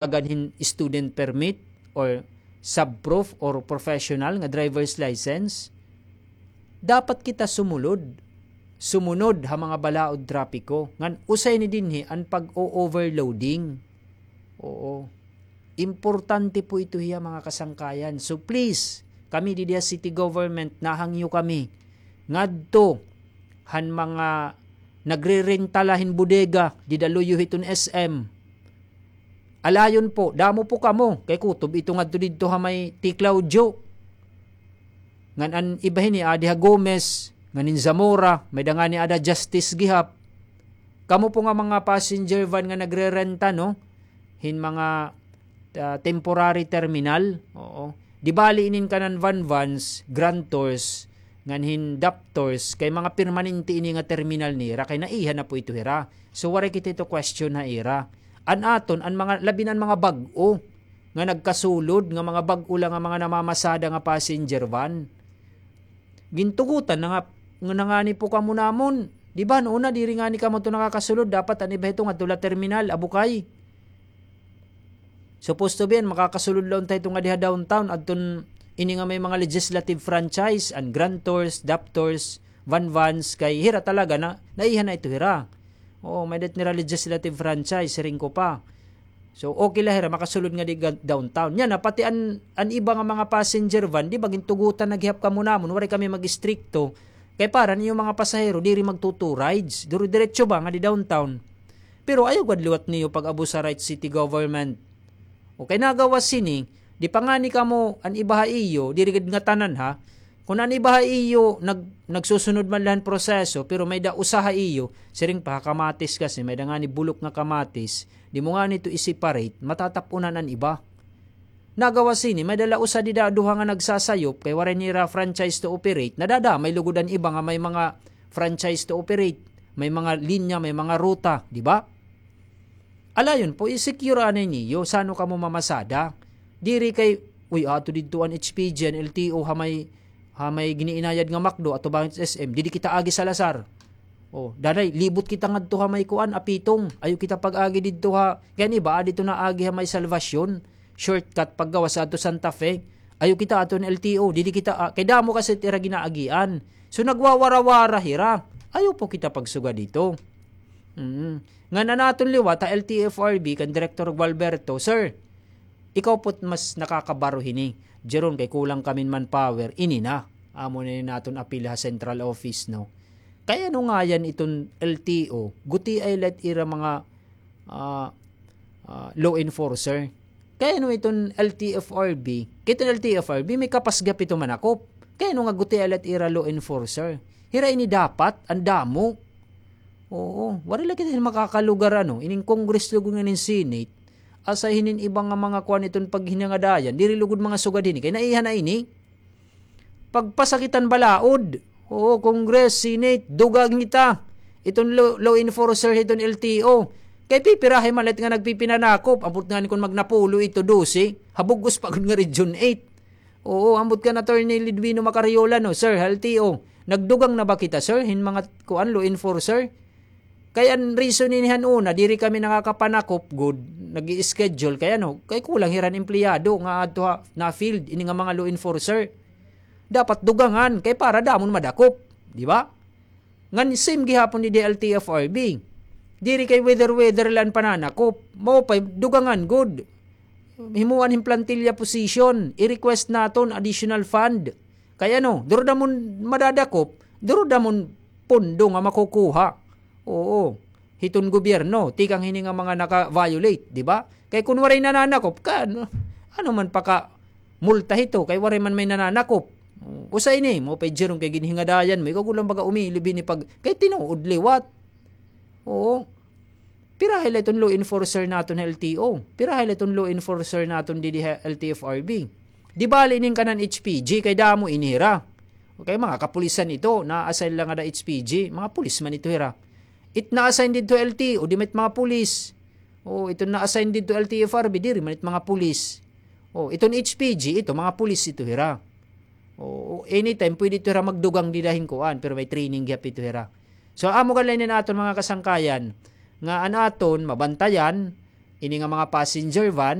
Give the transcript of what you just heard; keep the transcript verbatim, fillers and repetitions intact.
tagan hin student permit or subprof or professional nga driver's license, dapat kita sumulod, sumunod ha mga balaod trapiko. Ngan usa ini dinhi an pag-o-overloading. Oo. Importante po ito hiya, mga kasangkayan. So please, kami didi ha city government, nahangyo kami ngadto han mga nagrerenta la hin bodega dida luyo hiton S M. Alayon po, damo po kamo, kay kutob ito ngadto didto ha may T. Claudio. Ngan an iba hini, adi ha Gomez, ngan hin Zamora, may-ada ngani ada Justice gihap. Kamo po nga mga passenger van nga nagrerenta, no, hin mga, ah, temporary terminal, oo. Di bali inin kanan van vans, grantors, ngan hin daptors, kay mga permanente ini nga terminal nira, kay naiha na po ito hira. So, waray kita ito question ha ira. An aton, an mga, labi na an mga bag-o nga nagkasulod, nga mga bag-o la nga mga namamasada nga passenger van. Gintugotan na nga, nga nangani po kamo namon. Di ba, no, una, diri ngani kamo to nakakasulod. Dapat an iba hito ngadto la terminal, abukay. Supposed to be, an makakasulod la unta hito nga diha downtown, adton ini nga may mga legislative franchise, an grantors, daptors, van vans, kay hira talaga na, naiha na ito hira. Oo, may-ada it nira legislative franchise, siring ko pa. So, okay la hira, makasulod nga di ga-, downtown. Yana, pati an, an iba nga mga passenger van, di ba, gintugotan na gihap kamo namon, waray kami mag-istrikto. Kay para an iyo mga pasahero, diri magtu-two rides. Duro diretso ba nga di downtown? Pero ayaw gad liwat niyo pag-abusar ha city government. O kay nagawas hini, di pa ngani kamo an iba ha iyo, diri gad ngatanan ha. Kun an iba ha iyo, nag-, nagsusunod man la han proseso, pero may-ada usa ha iyo, siring pa ha kamatis kasi, may-ada ngani bulok nga kamatis, di mo ngani ito i-separate, matatap-unan an iba. Nagawas hini, may-ada la usa dida duha nga nagsasayop, kay waray nira franchise to operate, nadadamay lugod an iba nga may mga franchise to operate, may mga linya, may mga ruta, di ba? Alayon po, i-secure anay niyo, sano kamo mamasada. Diri kay, uy, ato didto an H P G, an L T O, ha may, ha may giniinayad nga McDo, ato ba S M, didi kita agi Salazar. O, danay, libot kita ngadto ha may kuan, Apitong. Ayaw kita pag-agi didto ha, kay an iba, adi to naagi ha may Salvacion. Shortcut paggawas adto Santa Fe. Ayaw kita adto han L T O, didi kita, ah, kay damo kasi it ira ginaagian. So, nagwawara-wara hira. Ayaw po kita pagsugad dito. Mm. Ngan an aton liwat ha L T F R B kan Director Gualberto, "Sir, ikaw po't mas nakakabaro hini. Jeron kay kulang kami hin manpower, ini na." Amo na ini an aton apil ha central office, no? Kay ano ngayan iton L T O? Gutiay la it ira mga, ah, ah, law enforcer. Kay ano iton L T F R B? Kay iton L T F R B, may kapas gihap ito manakop. Kay ano nga gutiay la it ira law enforcer? Hira ini dapat, an damo. Oo, waray la kita hin makakalugar, ano, ining Congress lugod ngan hin Senate, asya hinin iba nga mga kuan iton paghinangadayan, diri lugod mga sugad hini, kay naiha na ini. Pagpasakitan balaod. Oo, Congress, Senate, dugang hita. Iton law, law enforcer hiton L T O. Kay pipirahi man la it nga nagpipinanakop, ambot ngani kon magnapulo ito, dose, ha bug-os pa gud nga Region eight. Oo, ambot kan Attorney Lidwino Macariola, no, sir, ha L T O. Nagdugang na ba kita, sir, hin mga kuan, law enforcer? Kay an reason ini han una, diri kami nakakapanakop gud, nag-i-schedule, kay ano, kay kulang hira hin empleyado nga adto ha, na field, ini nga mga law enforcer. Dapat dugangan, kay para damo an madakop, di ba? Ngan same gihapon didi L T F R B. Diri kay whether-whether la an pananakop. Mao pay dugangan gud. Himuan hin plantilla position, i-request naton additional fund. Kay ano, duro damo an madadakop, duro damo an pondo nga makukuha. Oo. Hiton gobyerno, tikang hini nga mga naka-violate, di ba? Kay kun waray nananakop, ka, ano, ano man paka multa hito, kay waray man may nananakop. Usa ini, mao pay jeron kay ginhingadayan mo, ikaw gud la baga umilib hini pag, kay tinuod liwat. Oo. Pirahay la iton law enforcer naton ha L T O? Pirahay la iton law enforcer naton didi ha L T F R B? Di bali inin kanan H P G, kay damo ini hira. Okay, mga kapulisan ito, na-assign la ngada H P G, mga pulis man ito hira. It na-assign didto L T O, di man it mga pulis. O, iton na-assign didto L T F R B, diri man it mga pulis. O, iton H P G, ito, mga pulis ito hira. O, anytime, pwede ito hira magdugang dida hin kuan, pero may training gihap ito hira. So, amo gani la ini an aton mga kasangkayan, nga an aton mabantayan, ini nga mga passenger van,